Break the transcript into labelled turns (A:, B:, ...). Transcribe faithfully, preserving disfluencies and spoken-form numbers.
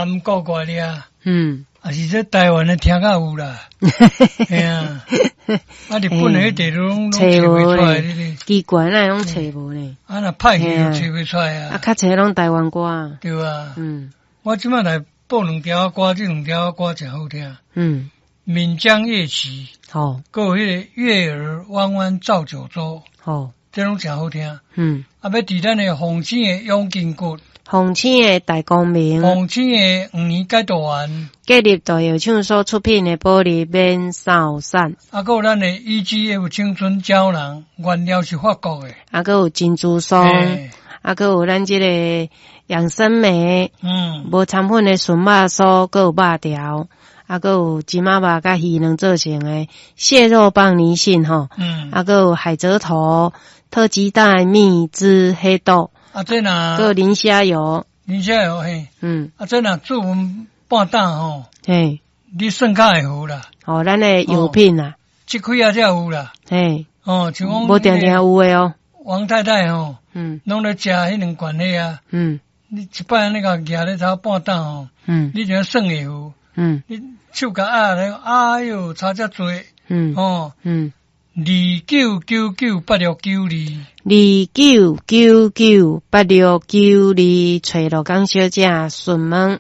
A: 南國過來啊，
B: 嗯，
A: 啊是這台灣的聽較有啦，嘿啊，啊日本的彼塊攏攏
B: 揣
A: 揣
B: 無
A: 袂出來，
B: 咧，
A: 你你，
B: 奇怪，哪會攏揣無咧？
A: 啊若歹去就揣袂出來
B: 啊，
A: 啊，
B: 較濟攏台灣歌，
A: 對啊，
B: 嗯
A: 我這擺來播兩條歌，這兩條歌誠好聽，
B: 嗯，
A: 《閩江夜曲》，
B: 好，
A: 閣有彼個《月兒彎彎照九州》，
B: 好，
A: 這攏誠好聽。
B: 嗯，
A: 啊，欲佇咱的鳳星的養筋骨，
B: 鳳星的大光明，
A: 鳳星的黃年解毒丸，
B: 建立大藥廠所出品的保利免掃散，
A: 啊，閣有咱的 E G F 青春膠囊，原料是法國的，
B: 啊，閣有珍珠霜，
A: 嘿
B: 啊，閣有咱這個養生酶，
A: 嗯，
B: 無摻粉的純肉酥，閣有肉條，啊，閣有金仔肉佮魚卵做成的蟹肉棒泥蕈吼，
A: 嗯，
B: 啊，閣有海蜇頭、特雞蛋、蜜汁黑豆，
A: 啊，這若
B: 閣有磷蝦油，
A: 磷蝦油嘿，
B: 嗯，
A: 啊，這若煮阮半擔吼，
B: 嘿，
A: 你算較會好啦，
B: 哦，咱的藥品啊，
A: 這幾仔才有啦，
B: 嘿，
A: 哦，像講
B: 無定定有的哦，
A: 王太太吼，
B: 嗯
A: 攏咧食彼兩罐彼啊，
B: 嗯
A: 你一擺按呢共舉咧頭半擔吼，
B: 嗯
A: 你就算會好，
B: 嗯
A: 你手共壓咧，哎喲，差遮濟，
B: 嗯
A: 吼，
B: 嗯，
A: 二九九九八六九二，
B: 二九九九八六九二，揣鹿港小姐詢問。